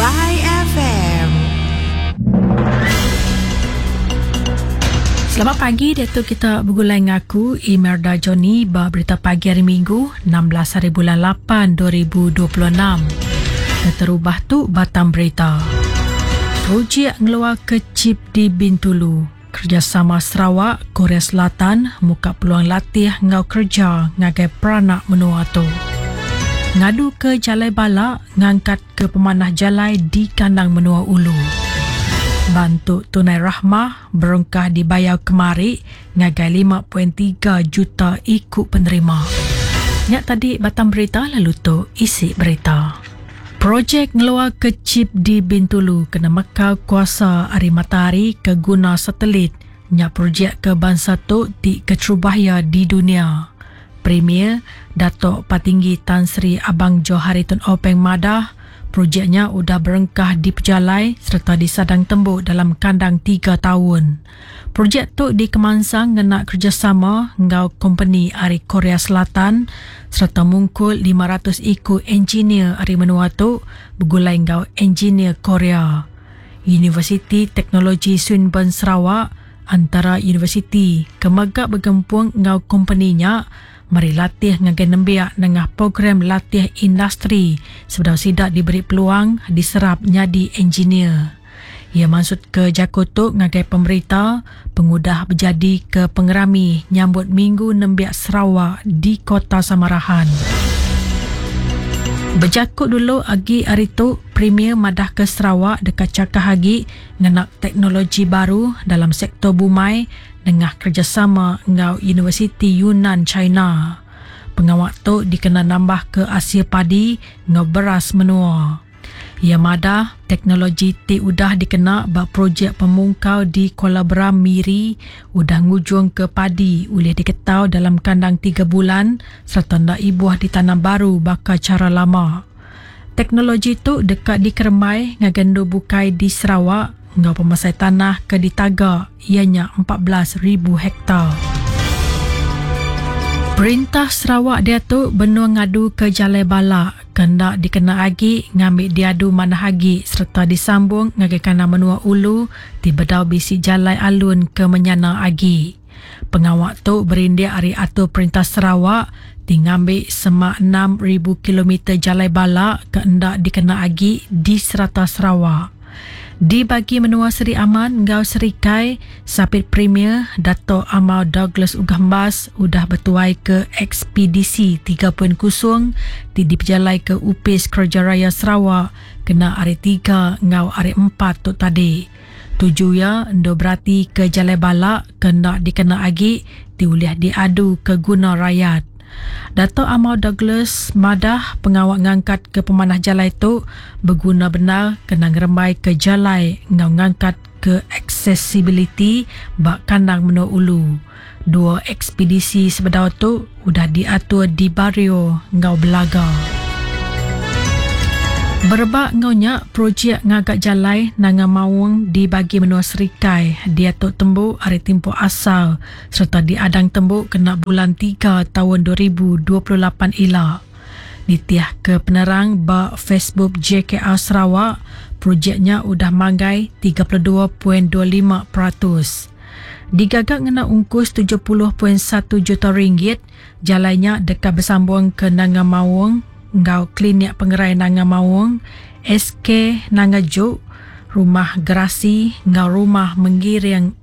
Wai FM. Selamat pagi diatu kita begulai enggau aku Imelda Johnny ba berita pagi hari Minggu 16 hari bulan 8 2026. Keterubah tu batang berita. Projek ngeluarka chip di Bintulu. Kerejasama Sarawak, Korea Selatan muka peluang latih enggau kereja ngagai peranak menua tu. Ngaduka jalai bala ngangkatka pemanah jalai di kandang menua ulu. Bantu Tunai Rahmah berengkah dibayar kemari ngagai 5.3 juta iku penerima. Nya tadi batang berita lalu tu isi berita. Projek ngeluarka chip di Bintulu kena mekal kuasa ari matahari ke guna satelit nya projek ke bansa tu ti keterubah iya di dunya. Premier, Datuk Patinggi Tan Sri Abang Johari Tun Openg madah, projek nya udah berengkah dipejalai sereta disadang tembu dalam kandang tiga taun. Projek tu dikemansang ngena kerejasama enggau kompeni ari Korea Selatan sereta mungkur 500 iku enjinir ari menua tu begulai enggau enjinir Korea. Universiti Teknologi Swinburne Sarawak antara universiti ke mega begempung enggau kompeni nya meri latih ngagai nembiak nengah program latih industri sebedau sida diberi peluang diserap nyadi enjinir. Iya mansutka jaku tu ngagai pemberita pengudah bejadika pengerami nyambut Minggu Nembiak Sarawak di Kota Samarahan. Bejaku dulu agi ari tu, Premier madahka Sarawak deka chakah agi ngena teknologi baru dalam sektor bumai nengah kerejasama enggau Universiti Yunnan China. Pengawa tu dikena nambahka asil padi enggau beras menua. Iya madah, teknologi ti udah dikena ba projek pemungkal di Kuala Beram, Miri udah ngujungka padi ulih diketau dalam kandang tiga bulan sereta enda ibuh ditanam baru baka chara lama. Teknologi tu deka dikerembai ngagai endur bukai di Sarawak enggau pemesai tanah ke ditaga iya nya 14,000 hektar. Perintah Sarawak diatu benung ngaduka Jalai Balak ke enda dikena agi ngambi diadu manah agi sereta disambung ngagai kandang menua ulu ti bedau bisi jalai alun ke menyana agi. Pengawa tu berindik ari atur Perintah Sarawak ti ngambi semak 6,000 kilometer jalai balak ke enda dikena agi di serata Sarawak. Di bagi menua Seri Aman enggau Serikai, Sapit Premier Datuk Amar Douglas Uggah Embas udah betuaika Ekspedisi 3.0 ti dipejalaika Opis Kereja Raya Sarawak kena Hari Tiga enggau Hari Empat tu tadi. Tuju iya endur beratika jalai balak ke enda dikena agi ti ulih diadu ke guna rayat. Datuk Amar Douglas madah pengawa ngangkatka pemanah jalai tu beguna bendar kena ngerembaika jalai enggau ngangkatka aksesibiliti ba kandang menua ulu. Dua ekspedisi sebedau tu udah diatur di Bario enggau Belaga. Berebak enggau nya, projek ngaga jalai Nanga Maung di Bagi Menua Serikai diatu tembu ari timpuh asal sereta diadang tembu kena bulan tiga taun 2028 ila. Nitihka penerang ba Facebook JKR Sarawak, projek nya udah manggai 32.25%. Digaga ngena ungkus 70.1 juta ringgit, jalai nya deka besambung ke Nanga Maung enggau Klinik Pengerai Nanga Maung, SK Nanga Juk, Rumah Gerasi enggau Rumah Menggiring.